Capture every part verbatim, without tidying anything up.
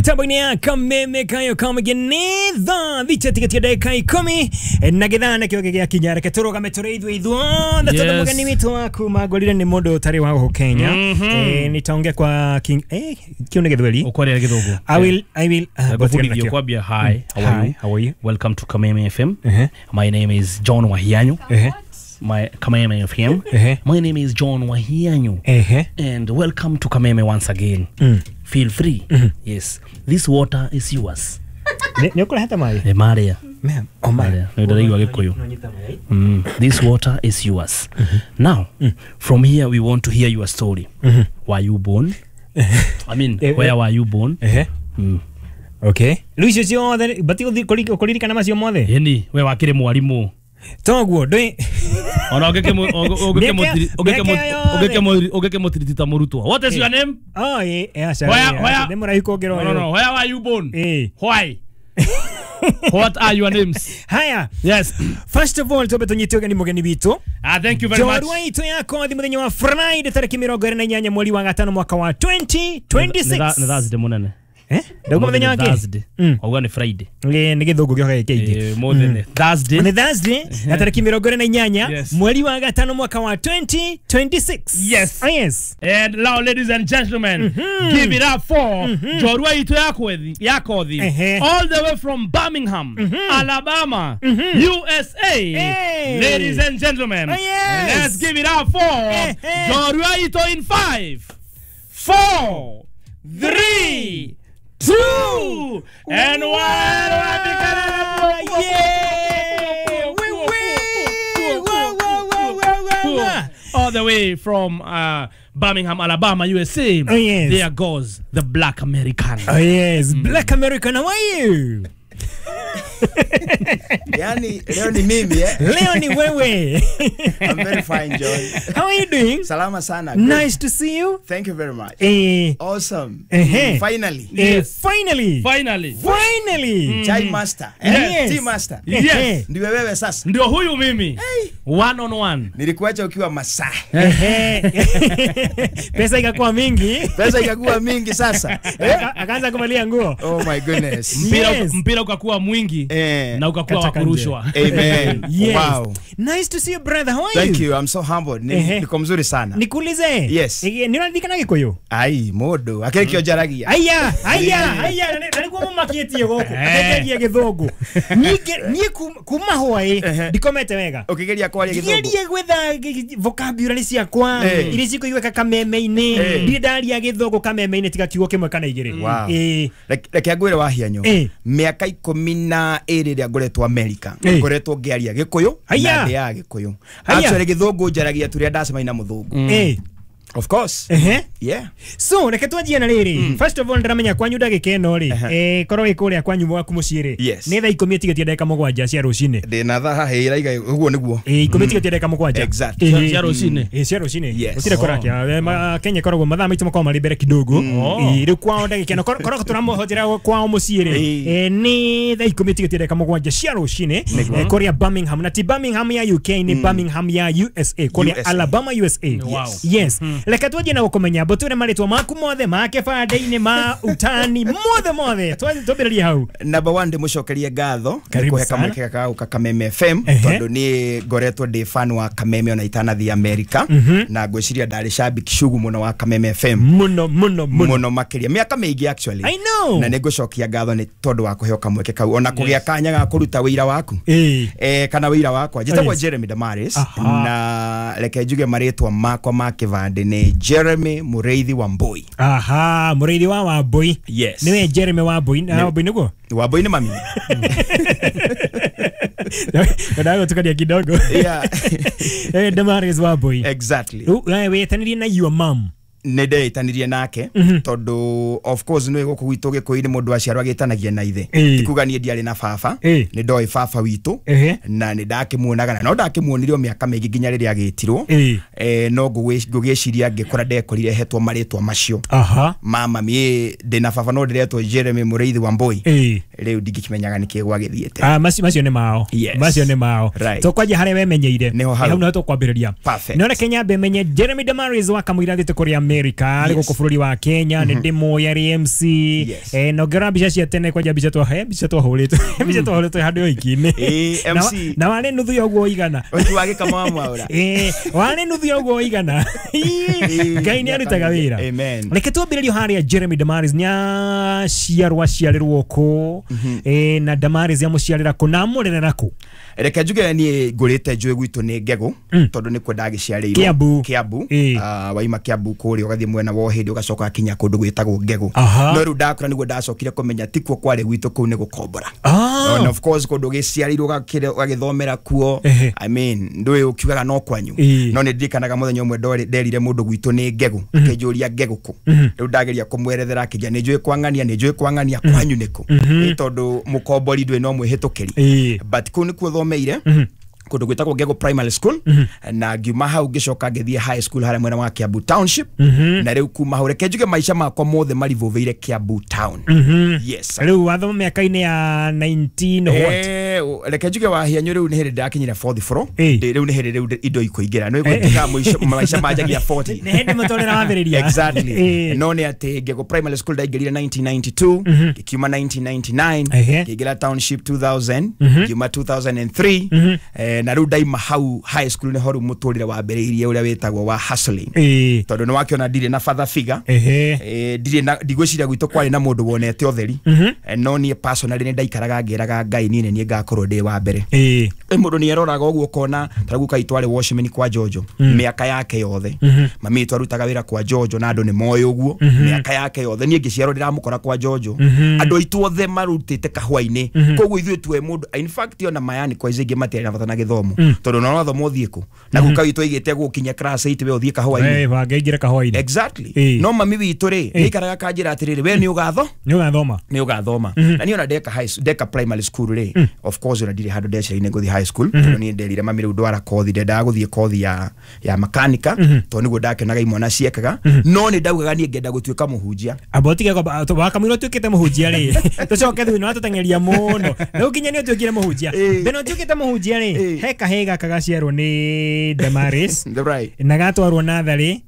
Mitambo-inĩ ya Kameme kayo kamũgenitha thicha tigetia ndagĩka ikũmi na gĩthaa nakĩo gĩgĩakinya. Reke tũrũgame tũrĩ ithuĩ ithuothe tondũ Yes. mũgeni witũ wa kuma ngorire nĩ mũndũ ũtarĩ wa gũkũ Kenya. Mhm. Eh, nitaongea kwa king eh kĩu nĩ Gĩthweri. Ukwaria githungu. I will I will uh, Ngũbundithio kwambia hi, how are Hi, you? how are you? Welcome to Kameme F M. Uh-huh. My name is John Wahianyu. Uh-huh. My Kameme F M. Uh-huh. My name is John Wahianyu. Uh-huh. And welcome to Kameme once again. Mm. Feel free. Yes. This water is yours. Nĩ nĩ ũkũrehete maĩ? Nĩ maria. Ma'am, oh my. Maria. Nĩ ndĩraigua Gĩkũyũ. Mm. This water is yours. Now, from here we want to hear your story. Were you born? I mean, Eh, where eh. were you born? Uh-huh. Mm. Okay. Rĩu icio ciothe bati kũririkana macio mothe? Ĩni, we wakĩrĩ mwarimũ. Toguo ndũĩ Ona Mĩaka- mĩaka yothe. ũngĩkĩmũtiriti ta mũrutwo. What is your name? Oh, ĩ, ĩ, aca, Where- ĩ, where- aca, nĩ mũraihu kũngĩra No, no, ũyũ. no. Where were you born? Ĩ. Why? What are your names? Haya. Yes. First of all, twambe tũnyite ũgeni mũgeni witũ. Ah, thank you very much. Njorua itũ ya kothi mũthenya wa Friday tarĩki mĩrongo ĩrĩ na inyanya mweri wa gatano mwaka wa twenty twenty-six. Nĩ Thursday mũnene. Eh? Ndauga mũthenya wa kĩ? Thursday. Mm. Wauga nĩ Friday. Ĩ, nĩ gĩthũngũ gĩoka gĩkĩingĩ. Eh, mũthĩ nĩ Thursday. Nĩ Thursday na tarĩki mĩrongo ĩrĩ na inyanya Yes. mweri wa gatano mwaka wa twenty twenty-six. Yes. Oh, yes. And now, ladies and gentlemen, give it up for Njorua itũ ya kwethi- ya kothi, Ehe. all the way from Birmingham, Alabama, U S A. Hey. Ladies and gentlemen, Oh, yes. let's give it up for Ehe. Njorua itũ in five, four, three, two, and one. Yeah. Wee, wee. Wah, wah, wah, wah, wah, wah. All the way from uh, Birmingham, Alabama, U S A. Oh, yes. There goes the Black American. Oh, yes. Black American, how are you? Yani, leo ni mimi, eh? Leo ni wewe. I'm very fine, John. How are you doing? Salama sana. Good. Nice to see you. Thank you very much. Eh, Awesome. Eh. Finally. eh, Yes. finally. Finally. Finally. Chai master. Eh? Yes. Tea master. Yes. Eh, Ndiwe wewe sasa. Ndio huyu mimi. One on one. Nilikuacha ukiwa masaa. eh. Pesa ikakuwa mingi. Pesa ikakuwa mingi sasa. Eh? Aka- Akaanza kuvalia nguo. Oh my goodness. Mpira, Yes. mpira ukakuwa mwingi Eh. na ukakuwa wa Kata kanje. kurushwa. Amen. Yes. Wow. Nice to see you, brother. How are Thank you? you. I'm so humbled. Ni, Ehe. niko mzuri sana. Nikuulize. Yes. Eh, nĩũraririkana Gĩkũyũ? Ai, mũndũ. Akĩrĩ kĩo njaragia. Aya, aya, aya, na nĩguo mũmakĩtie gũkũ. Eh. Akenjagia gĩthũngũ. Niĩ niĩ kuma hwaĩ Ehe. ndikomete wega. Ũkĩgeria kwaria gĩthũngũ. Ngerie gwetha g- vocabulary ciakwa Eh. iria cikũiguĩka kameme-inĩ. Eh. Ndirĩ ndaria gĩthũngũ kameme-inĩ tiga kiugo kĩmwe kana igĩrĩ. Wow. Eh. Reke reke ngwĩre Wahianyu. Eh. Mĩaka ikũmi na ĩrĩ ĩrĩa ngoretwo America Eh. ngoretwo ngĩaria Gĩkũyũ Haya. na ndĩaga Gĩkũyũ. Haya. Actually gĩthũngũ njaragia tu rĩrĩa ndacemania na mũthũngũ. Eh. Of course. Ehe. Yeah. So reke twanjie na rĩrĩ. First of all ndĩramenya kwanyu ndagĩka ĩno rĩ, eh, korwo wĩ kũrĩa kwanyu gwaku mũciĩ rĩ, Yes. nĩ thaa ikũmi ĩtigĩtie ndagĩka mũgwanja cia rũcinĩ. Ndĩna thaa haha ĩraiga ũguo nĩguo. Ĩ, ikũmi ĩtigĩtie ndagĩka mũgwanja. Exactly. Ĩ, Cia rũcinĩ. ĩ, cia rũcinĩ. Yes. Gũtirĩ kũrakia. Eh, ma- Kenya ĩkoragwo mathaa maitũ makoragwo marĩ mbere kidogo. Oh. Ĩ, rĩu kwao ndagĩka ĩno korwo tũramũhotera kwao mũciĩ rĩ, Ĩ. eh, nĩ thaa ikũmi ĩtigĩtie ndagĩka mũgwanja cia rũcinĩ, eh, kũrĩa Birmingham, na ti Birmingham ya U K, nĩ Birmingham ya U S A, kũrĩa U S A. Alabama, U S A. Wow. Yes. Reke twanjie na gũkũmenya mbũtũre marĩtwa maku mothe ma kĩbandĩ-inĩ ma utani mothe mothe. Twa- Twambĩrĩrie hau. Number one ndĩmũcokerie ngatho nĩ Karibu kũhe sana. kamweke gaka gũka Kameme F M Ehe. tondũ niĩ ngoretwo ndĩ fan wa Kameme ona itanathiĩ America na ngwĩciria ndarĩ shabiki shugu mũno wa Kameme F M Mũno mũno mũno. mũno makĩria mĩaka mĩingĩ actually. I know. Na nĩngũcokia ngatho nĩ tondũ wa kũheo kamweke kau ona kũgĩa kanya ga kũruta wĩira waku. Ĩ. Eh, kana wĩira wakwa njĩtagwo Yes. Jeremy Damaris Aha. na reke njuge marĩtwa makwa ma kĩbandĩ nĩ Jeremy Mũrĩithi wa Mbui. Aha, Mũrĩithi wa Wambui. Yes. Nĩwe Jeremy Wambui. Na Wambui nĩguo? Wambui nĩ mami. Ndataka gũtukania kidogo. Yeah. Eh, Damaris Wambui. Exactly. Rĩu we wĩtanirie na your mom. Nĩ ndeitanĩrie nake tondũ of course nĩ gũkũ gwitũ Gĩkũyũ-inĩ mũndũ aciarwo agĩtanagia na ithe. Ĩ. Ti kuga niĩ ndiarĩ na baba, Ĩ. nĩ ndoĩ baba witũ Ehe. na nĩ ndakĩmuonaga na no ndakĩmuonire o mĩaka mĩingĩ nginya rĩrĩa agĩtirwo. Ĩ. Eh, no ngũgwĩ- ngũgĩciria ngĩkũra ndekorire hetwo marĩtwa macio Aha. ma mami. Ĩ, ndĩna baba no ndĩretwo Jeremy Mũrĩithi wa Mbui. Ĩ. Rĩu ndingĩkĩmenyaga nĩkĩ gwagĩthiĩte. Ah, macio macio nĩ mao. Yes. Macio nĩ mao. Right. Tũkwanjia harĩa wemenyeire. Nĩho hau. Hau nĩho tũkwambĩrĩria. Perfect. No reke nyambe menye Jeremy Damaris wa Kamũira thiĩte kũrĩa America arĩ gũkũ bũrũri wa Kenya nĩ ndĩmũĩ arĩ M C. Yes. Eh, na ũngĩrora mbica cia tene kwanja mbica twa he mbica twahũrĩtwo mbica twahũrĩtwo handũ ũhiki-inĩ. Ĩĩ, Na M C. na warĩ nuthu ya ũguo ũigana. Ũhiki wa gĩkama wa Mwaũra. Ĩĩ, warĩ nuthu ya ũguo ũigana. Ĩĩ, Ngai nĩ arutaga wĩra. Amen. Reke twambĩrĩrie harĩa Jeremy Damaris nĩ aciarwo aciarĩrwo kũ, eh, na Damaris amũciarĩra kũ na amũrerera kũ? Reke njuge niĩ ngũrĩte njũĩ gwitũ nĩ Ngegũ tondũ nĩkuo ndagĩciarĩirwo. Kiambu. Kiambu. Ĩĩ. Ah, waima Kiambu kũrĩa ũgathiĩ mwena wa Ũhĩndĩ ũgacoka kinya kũndũ gwĩtagwo Ngegũ. Aha. No rĩu ndakũra nĩguo ndacokire kũmenya tikuo kwarĩ gwitũ kũu nĩ gũkombora. Ah. And of course kũndũ gĩciarĩirwo ũgakĩre- ũgagĩthomera kuo. Ehe. I mean ndũĩ ũkiugaga no kwanyu. Ĩĩ. No nĩ ndirikanaga mũthenya ũmwe ndorĩ- nderire mũndũ gwitũ nĩ Ngegũ akĩnjũria Ngegũ kũ. Rĩu ndageria kũmwerethera akĩnjĩra nĩ njũĩ kwang'ania nĩ njũĩ kwang'ania kwanyu nĩkũ. Ĩ tondũ mũkombori ndũĩ no mwĩhĩtũkĩri. Ĩĩ. But kũu nĩkuo thomeire kũndũ gwĩtagwo Ngegũ Primary School na ngiuma hau ngĩcoka ngĩthiĩ high school harĩa mwena wa Kiambu Township na rĩu kuma hau reke njuge maica makwa mothe marivũvĩire Kiambu Town. Yes. Rĩu wathoma mĩaka-inĩ ya nineteen what? Eh, reke njuge wahianyu rĩu nĩ hĩndĩ ndakinyire fourth floor. Ĩĩ. Ndĩ- rĩu nĩ hĩndĩ rĩu indo ikũingĩra nĩ gwĩtuĩka mũico maica manjagia forty. Nĩ hĩndĩ mũtũrĩre wambĩrĩria. Exactly. Ĩĩ. No nĩ atĩ Ngegũ Primary School ndaingĩrire nineteen ninety-two ngĩkiuma nineteen ninety-nine Ehe. ngĩingĩra Township two thousand ngiuma two thousand and three eh, na rĩu ndaima hau high school nĩho rĩu mũtũrĩre wambĩrĩirie ũrĩa wĩtagwo wa hustling. Ĩĩ. Tondũ nĩ wakĩona ndirĩ na father figure. Ehe. Eh, ndirĩ na ndigwĩciria gwitũ kwarĩ na mũndũ wonete ũtheri. Eh, no niĩ personally nĩ ndaikaraga ngĩraga Ngai niĩ nĩ niĩ ngakorwo ndĩ wa mbere. Ĩĩ. Ĩ mũndũ nĩ eroraga ũguo ũkona ta rĩu guka witũ arĩ watchman kwa Jojo mĩaka yake yothe. Mami witũ arutaga wĩra kwa Jojo na andũ nĩ moĩ ũguo mĩaka yake yothe. Niĩ ngĩciarwo ndĩramũkora kwa Jojo. Andũ aitũ othe marutĩte kahũa-inĩ. Koguo ithuĩ tuwe mũndũ in fact ona mayani kwa ici ingĩ matiarĩ na bata na gĩthomo tondũ ona wathoma ũthiĩ kũ na guka witũ aigĩte gũkinya class eight we ũthiĩ kahũa-inĩ. Eh, wangĩingĩra kahũa-inĩ. Exactly. Ĩĩ. No mami witũ rĩ nĩaikaraga akanjĩra atĩrĩrĩ we nĩ ũgatho Nĩ ũgathoma. nĩ ũgathoma. Na niĩ ona ndeka high ndeka primary school rĩ of course ona ndirĩ handũ ndeciria nĩ ngũthiĩ high school tondũ niĩ nderire mami rĩu ndwara kothi ndendaga gũthiĩ kothi ya ya makanika tondũ nĩguo ndakenaga imwana ciekaga no nĩ ndaugaga niĩ ngenda gũtuĩka mũhunjia. Amba ũtige kwamba wakamũira ũtuĩkĩte mũhunjia rĩ tũcoke thutha nĩ watũteng'eria mũno rĩu nginya nĩ ũtuĩkire mũhunjia. Ĩĩ. Mbere ũtuĩkĩte mũhunjia rĩ Ĩĩ. he kahĩĩ gaka gaciarwo nĩ Damaris Right. na gatwarwo natharĩ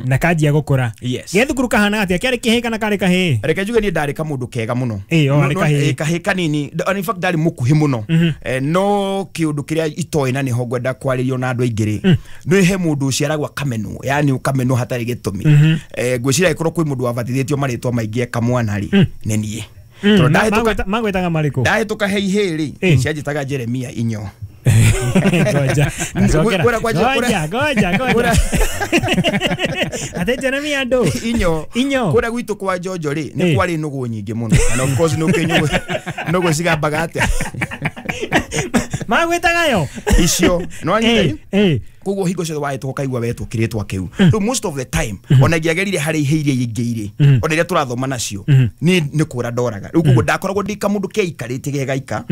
na kanjia gũkũra. Yes. Gĩa thukuru kahana atĩa kĩarĩ kĩhĩĩ kana karĩ kahĩĩ? Reke njuge niĩ ndarĩ kamũndũ kega mũno. Ĩĩ, o, No- arĩ no- kahĩĩ. ĩĩ, kahĩĩ kanini D- in fact ndarĩ mũkuhĩ mũno. Eh, no kĩũndũ kĩrĩa itoĩ na nĩho ngwenda kwarĩrio na andũ aingĩ rĩ nĩ he mũndũ ũciaragwo akamenwo yani ũkamenwo hatarĩ gĩtũmi. Eh, ngwĩciria angĩkorwo kwĩ mũndũ wabatithĩtio marĩtwa maingĩ eka mwana rĩ nĩ niĩ. Tondũ Ma- ndahĩtũka magwĩta- magwĩtaga marĩkũ? ndahĩtũka he ihĩĩ rĩ Ĩĩ. cianjĩtaga Jeremia inyo. Ngoja. Ndacokera. Kũrĩa kwa- Ngoja, ngoja, ngoja. Ate Jeremia andũ. Inyo. Inyo. Kũrĩa gwitũ kwa Jojo rĩ nĩ Ĩĩ. kwarĩ nũgũ nyingĩ mũno and of course nĩ ũkĩ nũgũ nũgũ cigambaga atĩa Magwĩtaga yo. icio nĩ wanyita Ĩĩ, ĩĩ. koguo hingo ciothe wahĩtũka ũkaigua wetwo kĩrĩtwa kĩu rĩu most of the time ona ingĩagerire harĩ ihĩ iria ingĩ irĩ ona iria tũrathoma nacio niĩ nĩ kũra ndoraga rĩu koguo ndakoragwo ndĩ kamũndũ keikarĩtie gegaika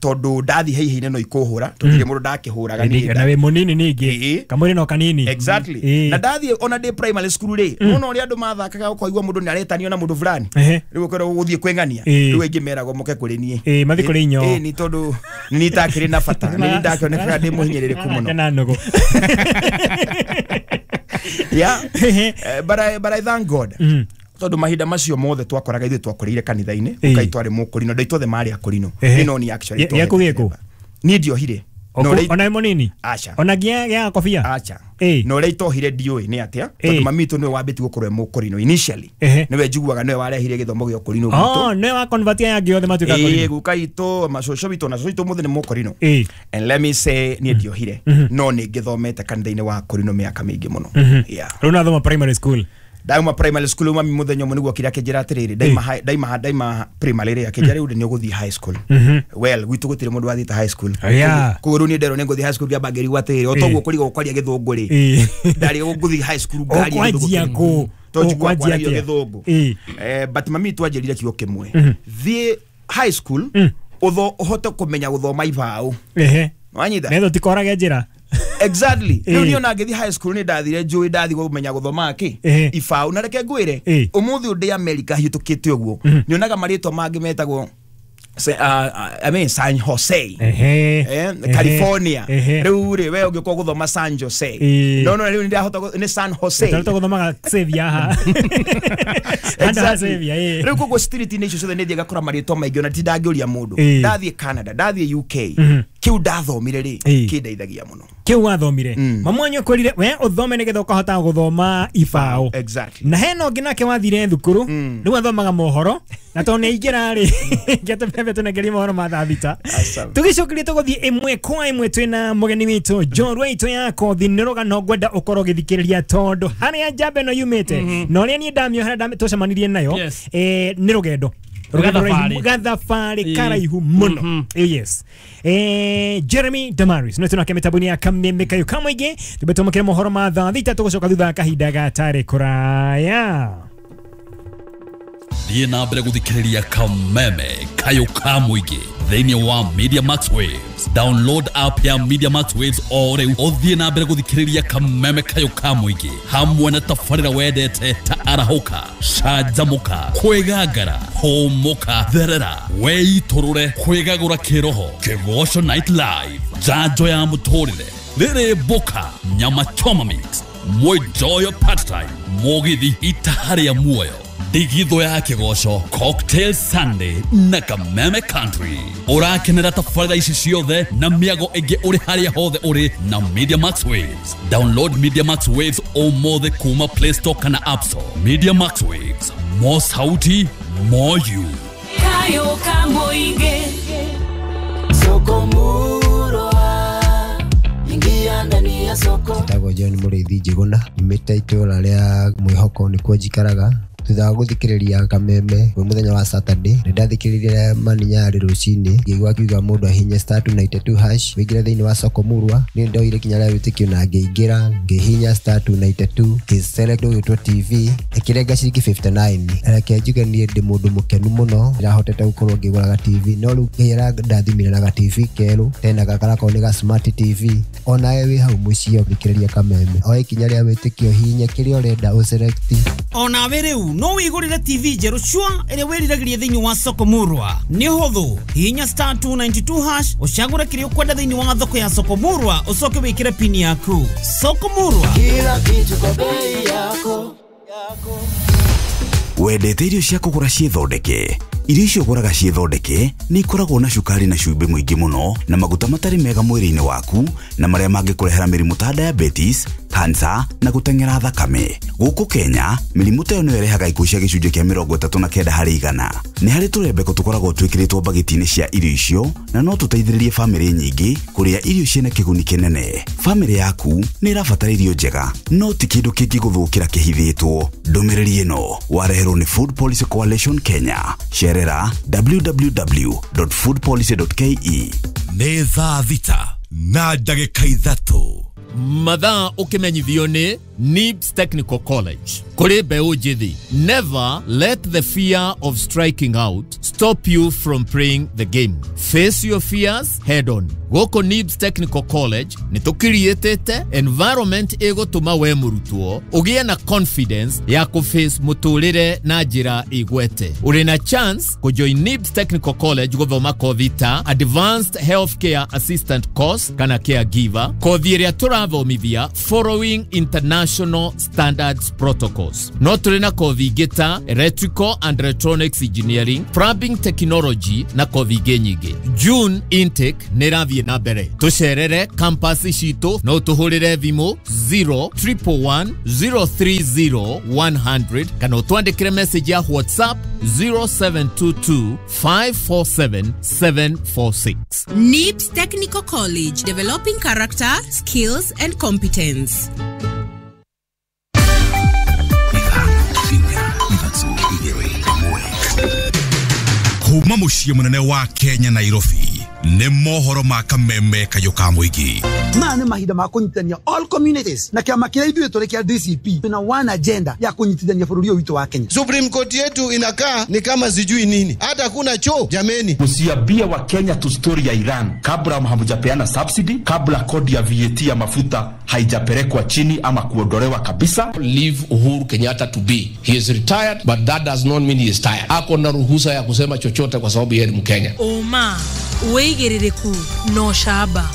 tondũ ndathiĩ he ihĩ-inĩ no ikũhũra tondũ ndirĩ mũndũ ndakĩhũraga niĩ Na wĩ mũnini ningĩ. Ĩĩ. Kamwĩrĩ no kanini. Exactly. Ĩĩ. Na ndathiĩ ona ndĩ primary school rĩ nona ũrĩa andũ mathakaga ũkaigua mũndũ nĩ aretanio na mũndũ fulani Ehe. rĩu ũkerwo ũgũthiĩ kwĩng'ania Ĩĩ. rĩu aingĩ meragwo moke kũrĩ niĩ Ĩĩ, mathiĩ kũrĩ inyo. Ĩĩ, nĩ tondũ nĩ niĩ itakĩrĩ na bata nĩ niĩ ndakĩonekaga ndĩ mũhinyĩrĩrĩku mũno. Na nũgũ. Yeah. Eh, but I, but I thank God tondũ mahinda macio mothe twakoraga ithuĩ twakũrĩire kanitha-inĩ Ĩĩ. ũkai twarĩ mũkũrino andũ aitũ othe marĩ akũrino Ehe. niĩ no niĩ actually Gĩ- twahetwo gĩaku gĩkũ? niĩ ndiohire Na Oku- ũrĩa- Ona wĩ mũnini? Aca. Ona nginya gĩa kobia? Acha. Ĩĩ. Na ũrĩa itohire ndiũĩ nĩ atĩa Ĩĩ. tondũ mami witũ nĩwe wambĩtie gũkorwo e mũkũrino initially Ehe. nĩwe njiguaga nĩwe warehire gĩthomo gĩa ũkũrino gwitũ. Oh, nĩwe wa convert aya angĩ othe matuĩka Ĩĩ, akũrino. guka itũ macũcũ witũ na cũcũ witũ mũthĩ nĩ mũkũrino Ĩĩ. and let me say niĩ ndiohire no nĩ ngĩthomete kanitha-inĩ wa kũrino mĩaka mĩingĩ mũno. Yeah. Rĩu nathoma primary school. Ndauma primary school mami mũthenya ũmwe nĩguo okire akĩnjĩra atĩrĩrĩ ndaima high- ndaima ndaima primary rĩ akĩnjĩra rĩu nĩ ũgũthiĩ high school. Well gwitũ gũtirĩ mũndũ wathiĩte high school. Yeah. Koguo rĩu niĩ nderwo nĩ ngũthiĩ high school ngĩamba ngĩrigwo atĩrĩrĩ o toguo kũrigwo kwaria gĩthũngũ rĩ Ĩĩ. ndarigwo ngũthiĩ high school ngaria gĩthũngũ Ũkwanjia kĩrĩkũ. kũ? Tondũ njiguaga Ũkwanjia kwaragia atĩa? gĩthũngũ. Ĩĩ. Eh, but mami witũ anjĩrire kiugo kĩmwe thiĩ high school ũtho ũhote kũmenya gũthoma ibaũ Ehe. wanyita Netho tikorage njĩra. Exactly. Rĩu Ĩĩ. niĩ ona ngĩthiĩ high school nĩ ndathire njũĩ ndathiĩ kũmenya gũthoma kĩ Ĩĩ. ibaũ na reke ngwĩre Ĩĩ. ũmũthĩ ũyũ ndĩ America hĩtũkĩte ũguo nyonaga marĩtwa mangĩ metagwo Se, uh, I mean San Jose. Ehe. Eh, California. Riu ri we ũngĩkorwo gũthoma San Jose. No no riu ndahota nĩ San Jose. Ndahota gũthoma Xavier ha. Exactly. Riu koguo street nĩ icio ciothe nĩ thiaga kũra marĩtwa maingĩ ona tindangĩũria mũndũ. Ndathiĩ Canada, ndathiĩ U K. Kĩu ndathomire rĩ kĩndeithagia mũno. Kĩu wathomire. Mamwanyu akwĩrire we ũthome nĩgetha ũkahota gũthoma ibaũ. Exactly. Na hena ũngĩ nake wathire thukuru rĩu athomaga mohoro na tondũ nĩ aingĩra rĩ ngĩatũbebe tũnengerie mohoro ma thaa thita. Tũgĩcokeria tũgũthiĩ ĩmwe kwa ĩmwe twĩna mũgeni witũ njorua itũ ya kothi nĩ rũgano ngwenda ũkorwo ũgĩthikĩrĩria tondũ harĩa njamba ĩno yumĩte na ũrĩa niĩ ndamĩohera tũcemanirie nayo nĩ rũgendo gathabarĩ karaihu mũno. Yes. Eh, Jeremy Damaris no tunake mitabuni ya Kameme Kayo Kamũingĩ tũbetũmũkĩre mohoro ma thaa thita tũgũcoka thutha wa kahinda gatarĩ kũraya. Thiĩ na mbere gũthikĩrĩria Kameme Kayo Kamũingĩ thĩinĩ wa Media Max Waves. Download app ya Media Max Waves o rĩu ũthiĩ na mbere gũthikĩrĩria Kameme Kayo Kamũingĩ hamwe na tabarĩra wendete ta arahũka, canjamũka, kwĩgangara, hũmũka, therera, weitũrũre, kwĩgagũra kĩroho, Kĩgoco Night Live, njanjo ya mũtũrĩre, rĩrĩ mboka, nyama choma mix, mwĩnjoyo part time, mũgithi itaharĩa muoyo, Ndigitho ya Kĩgoco, Cocktail Sunday na Kameme Country. Ũrakenera tabarĩra ici ciothe na mĩago ĩngĩ ũrĩ harĩa hothe ũrĩ na Media Max Waves. Download Media Max Waves ũmũthĩ kuma Play Store kana App Store. Media Max Waves, more sauti, more you. Kayo Kamũingĩ, soko murwa, ingia ndani ya soko. Njĩtagwo John Mũrĩithi Njĩgũna, nyumĩte itũũra rĩa Mwĩhoko nĩkuo njikaraga. Thutha wa gũthikĩrĩria Kameme kwĩ mũthenya wa Saturday nĩ ndathikĩrĩirie Maninyarĩ rũcinĩ ngĩigua akiuga mũndũ ahinye star two ninety two hash wĩingĩre thĩinĩ wa soko murwa. Niĩ ndoire ikinya rĩa wĩtĩkio na ngĩingĩra ngĩhihinya star two ninety two ngĩselect ũgĩtwo T V ĩkĩrenga ciringi fifty nine. Reke njuge niĩ ndĩ mũndũ mũkenu mũno ndĩrahotete gũkorwo ngĩgũraga T V no rĩu Ngai arandathimire na ga T V kerũ tena gakarakorwo nĩ ga smart T V. Onawe wĩ hau mũciĩ ũthikĩrĩria Kameme oe ikinya rĩa wĩtĩkio hihinye kĩrĩa ũrenda ũselect. Onawe rĩu no wĩgũrĩre T V njerũ cua ĩrĩa wĩriragĩria thĩinĩ wa soko murwa. Nĩ ũhũthũ, hihinya star two ninety two hash ũcagũre kĩrĩa ũkwenda thĩinĩ wa thoko ya soko murwa ũcoke wĩkĩre pini yaku. Soko murwa, kila kitu kwa bei yako. Wendete irio cia kũgũra ciĩthondeke? Irio icio ũgũraga ciĩthondeke nĩ ikoragwo na cukari na cumbĩ mũingĩ mũno na maguta matarĩ mega mwĩrĩ-inĩ waku na marĩa mangĩkũrehera mĩrimũ ta diabetes, cancer na gũteng'era thakame. Gũkũ Kenya, mĩrimũ ta ĩyo nĩyo ĩrehaga ikuũ cia gĩcunjĩ kĩa mĩrongo ĩtatũ na kenda harĩ igana. Nĩ harĩ tũrembeko tũkoragwo twĩkĩrĩtwo mbagiti-inĩ cia irio icio na no tũteithĩrĩrie bamĩrĩ nyingĩ kũrĩa irio ciĩna kĩguni kĩnene. Bamĩrĩ yaku nĩ ĩrabatara irio njega, no ti kĩndũ kĩngĩgũthũkĩra kĩhithĩtwo. Ndũmĩrĩri ĩno wareherwo nĩ Food Policy Coalition Kenya. Cerera w w w dot food policy dot k e. Nĩ thaa thita na ndagĩka ithatũ. Mathaa ũkĩmenyithio nĩ Nibs Technical College. Kũrĩ mbeũ njĩthĩ, never let the fear of striking out stop you from playing the game. Face your fears head on. Gũkũ Nibs Technical College nĩ tũkiriĩtĩte environment ĩgũtũma we mũrutwo ũgĩe na confidence ya kũface mũtũrĩre na njĩra ĩgwete. Ũrĩ na chance kũjoin Nibs Technical College gũthoma kothi ta Advanced Healthcare Assistant Course kana Caregiver, kothi ĩrĩa tũrathomithia following international standards protocols. No tũrĩ na kothi ingĩ ta Electrical and Electronics Engineering, Plumbing Technology na kothi ingĩ nyingĩ. June intake nĩ ĩrathiĩ na mbere. Tũcerere campus citũ no tũhũrĩre thimũ zero triple one zero three zero one hundred kana ũtwandĩkĩre message ya WhatsApp zero seven two two five four seven seven four six. Nibs Technical College, developing character, skills and competence. Kuma muciĩ mũnene wa Kenya Nairobi, Nĩ mohoro ma kameme kayũ ka mũingĩ. Maya nĩ mahinda ma kũnyitithania all communities na kĩama kĩrĩa ithuĩ tũrĩ kĩa D C P na one agenda ya kũnyitithania bũrũri ũyũ witũ wa Kenya. Supreme Court yetu inakaa ni kama sijui nini, hata kuna choo jameni. Msiambie wa Kenya tu story ya Iran kabla hamjapeana subsidy, kabla kodi ya V A T ya mafuta haijapelekwa chini ama kuondolewa kabisa. Leave Uhuru Kenyatta to be. He is retired, but that does not mean he is tired. Ako na ruhusa ya kusema chochote kwa sababu yeye ni Mkenya. Oma wĩigĩrĩrĩku no shaba.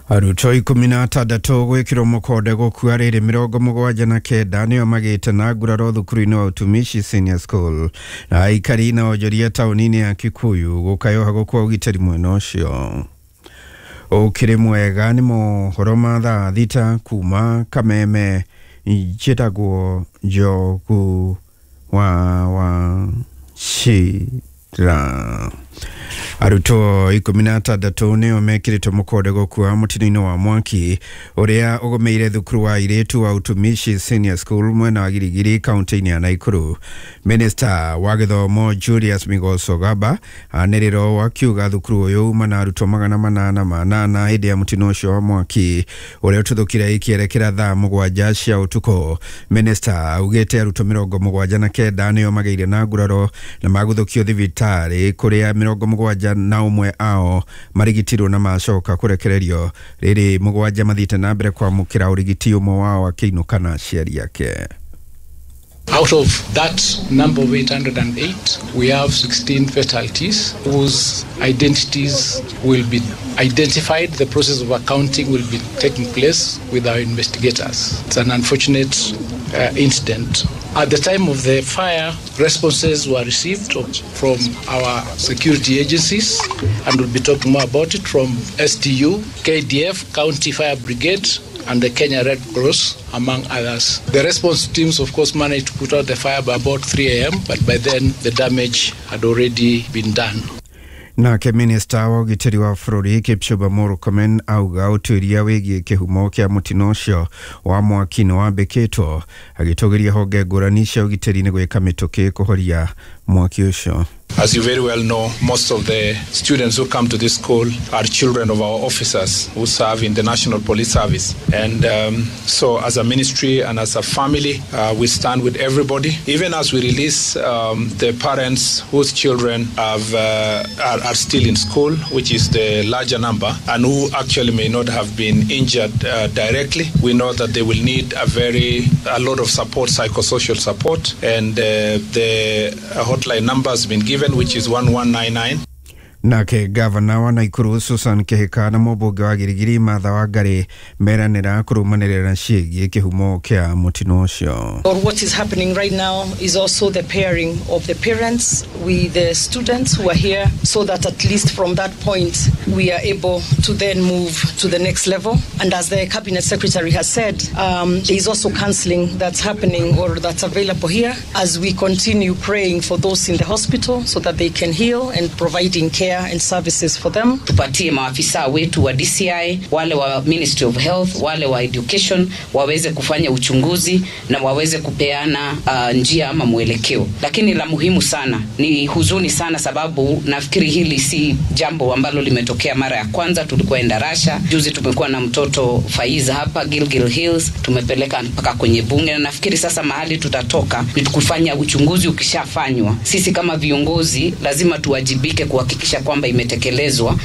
Arutwo ikũmi na atandatũ gwĩkĩrwo mũkonde gũkua rĩrĩ mĩrongo mũgwanja na kenda nĩo magĩte na nguraro thukuru-inĩ wa Utumishi Senior School na aikari na onjoria taũni-inĩ ya Kikuyu gũkayoha gũkua ũgitĩri mwena ũcio. Ũkĩrĩ mwega nĩ mohoro ma thaa thita kuma Kameme. Njĩtagwo Njogu wa wa Shira. Arutwo ikũmi na atandatũ nĩo mekĩrĩtwo mũkonde gũkua mũtino-inĩ wa mwaki ũrĩa ũgũmĩire thukuru wa airĩtu wa Utumishi Senior School mwena wa Girigiri kaunti-inĩ ya Nakuru. Minister wa gĩthomo Julius Migos Ogamba anĩrĩrwo akiuga thukuru ũyũ uma na arutwo magana manana manana hĩndĩ ya mũtino ũcio wa mwaki ũrĩa ũtuthũkire ikĩerekera thaa mũgwanja cia ũtukũ. Minister augĩte arutwo mĩrongo mũgwanja na kenda nĩo magĩire na nguraro na maguthũkio thibitarĩ kũrĩa mĩrongo mũgwanja na ũmwe ao marigitirwo na macoka kũrekererio rĩrĩ mũgwanja mathiĩte na mbere kwamũkĩra ũrigiti ũmwe wao akĩinũka na aciari ake. Out of that number of eight hundred and eight, we have sixteen fatalities whose identities will be identified. The process of accounting will be taking place with our investigators. It's an unfortunate uh, incident. At the time of the fire, responses were received from our security agencies, and we'll be talking more about it, from S T U, K D F, County Fire Brigade, and the Kenya Red Cross, among others. The response teams, of course, managed to put out the fire by about three A M, but by then the damage had already been done. Nake minista wa ũgitĩri wa bũrũri Kipchumba Murkomen auga ũtuĩria wĩgiĩ kĩhumo kĩa mũtino ũcio wa mwaki nĩ wambĩkĩtwo, agĩtũgĩria honge ngũrani cia ũgitĩri nĩ gwĩka mĩtũkĩ kũhoria mwaki ũcio. As you very well know, most of the students who come to this school are children of our officers who serve in the National Police Service. And um, so as a ministry and as a family, uh, we stand with everybody. Even as we release um, the parents whose children have, uh, are, are still in school, which is the larger number, and who actually may not have been injured uh, directly, we know that they will need a very, a lot of support, psychosocial support, and uh, the hotline number has been given, which is one one nine nine. Nake gavana wa Nakuru Susan Kihika na mũmbunge wa Girigiri Martha Wangari meranĩra kũrũmanĩrĩra ciĩgiĩ kĩhumo kĩa mũtino ũcio. Or what is happening right now is also the pairing of the parents with the students who are here, so that at least from that point we are able to then move to the next level. And as the cabinet secretary has said, um, there is also counseling that's happening or that's available here as we continue praying for those in the hospital so that they can heal and providing care and services for them. Tupatie maafisa wetu wa D C I, wale wa Ministry of Health, wale wa Education waweze kufanya uchunguzi na waweze kupeana uh, njia ama mwelekeo. Lakini la muhimu sana ni huzuni sana, sababu nafikiri hili si jambo ambalo limetokea mara ya kwanza. Tulikuwa Endarasha juzi, tumekuwa na mtoto Faiza hapa Gilgil Hills, tumepeleka mpaka kwenye bunge, na nafikiri sasa mahali tutatoka ni kufanya uchunguzi. Ukishafanywa, sisi kama viongozi lazima tuwajibike kuhakikisha kwamba imetekelezwa.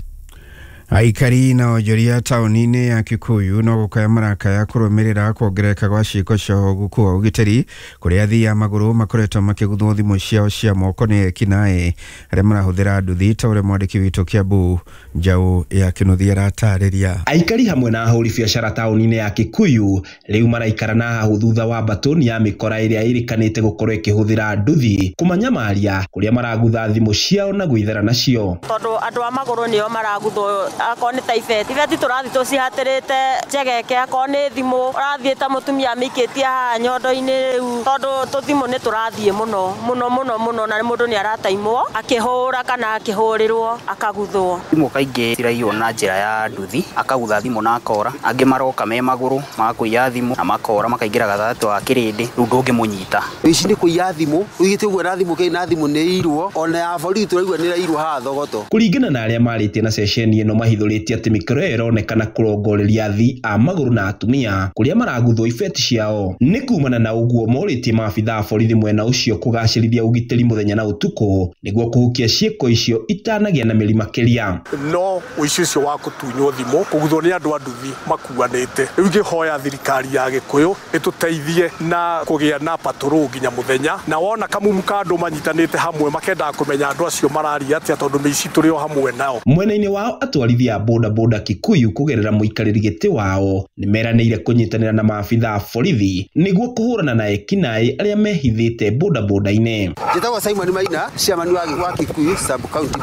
Aikari na onjoria taũni-inĩ ya Kikuyu no gũkaya marakaya kũrũmĩrĩra kuongerereka gwa ciĩko cia ũguku wa ũgitĩri kũrĩa athii a magũrũ makoretwo makĩguthwo thimũ ciao cia moko nĩ ekinaĩ arĩa marahũthĩra nduthi ta ũrĩa mwandĩki witũ Kiambu Njaũ ya Kĩnuthia aratarĩria. Aikari hamwe na ahũri biacara taũni-inĩ ya Kikuyu rĩu maraikara na hau thutha wa mbatũni ya mĩkora ĩrĩa ĩrĩkanĩte gũkorwo ĩkĩhũthĩra nduthi kũmanyamaria kũrĩa maragutha thimũ ciao na gwĩthera nacio. Tondũ andũ a magũrũ nĩo maraguthwo Akorwo nĩ ta ibeti, ibeti tũrathiĩ tũcihatĩrĩte njegeke, akorwo nĩ thimũ ũrathiĩ ta mũtumia amĩikĩtie haha nyondo-inĩ rĩu, tondũ tũthimũ nĩ tũrathiĩ mũno mũno mũno mũno, na mũndũ nĩ arataimwo akĩhũra kana akĩhũrĩrwo akaguthwo. Thimũ kaingĩ ciraiywo na njĩra ya nduthi, akagutha thimũ na akora, angĩ maroka me magũrũ magakũiya thimũ na makora makaingĩra gatagatĩ wa kĩrĩndĩ, rĩu ndũngĩmũnyita. Ici nĩ kũiya thimũ, ũigĩte ũguo na thimũ kĩrĩ na thimũ nĩ irwo, ona ya borithi tũraigua nĩ irairwo haha Thogoto. Kũringana na arĩa marĩtie na ceceni ĩno mahithũrĩtie atĩ mĩkoro ĩyo ĩronekana kũrongoreria athii a magũrũ na atumia kũrĩa maraguthwo ibeti ciao. Nĩ kumana na ũguo morĩtie maabitha a borithi mwena ũcio kũgacĩrithia ũgitĩri mũthenya na ũtukũ nĩguo kũhukia ciĩko icio itanagĩa na mĩri makĩria. No ũici ũcio wa kũtunywo thimũ kũguthwo nĩ andũ a nduthi makuanĩte, rĩu ingĩhoya thirikari ya Gĩkũyũ ĩtũteithie na kũgĩa na patrol nginya mũthenya, na wona kamumu ka andũ manyitanĩte hamwe makendaga kũmenya andũ acio mararia atĩa, tondũ mĩici tũrĩ o hamwe nao. Mwena-inĩ wao atwarithia a boda boda Kikuyu kũgerera mũikarĩri gĩtĩ wao nĩ meranĩire kũnyitanĩra na maabitha a borithi nĩguo kũhũrana na ekinaĩ arĩa mehithĩte boda boda-inĩ. Njĩtagwo Simon Maina, chairman wa Kikuyu sub county.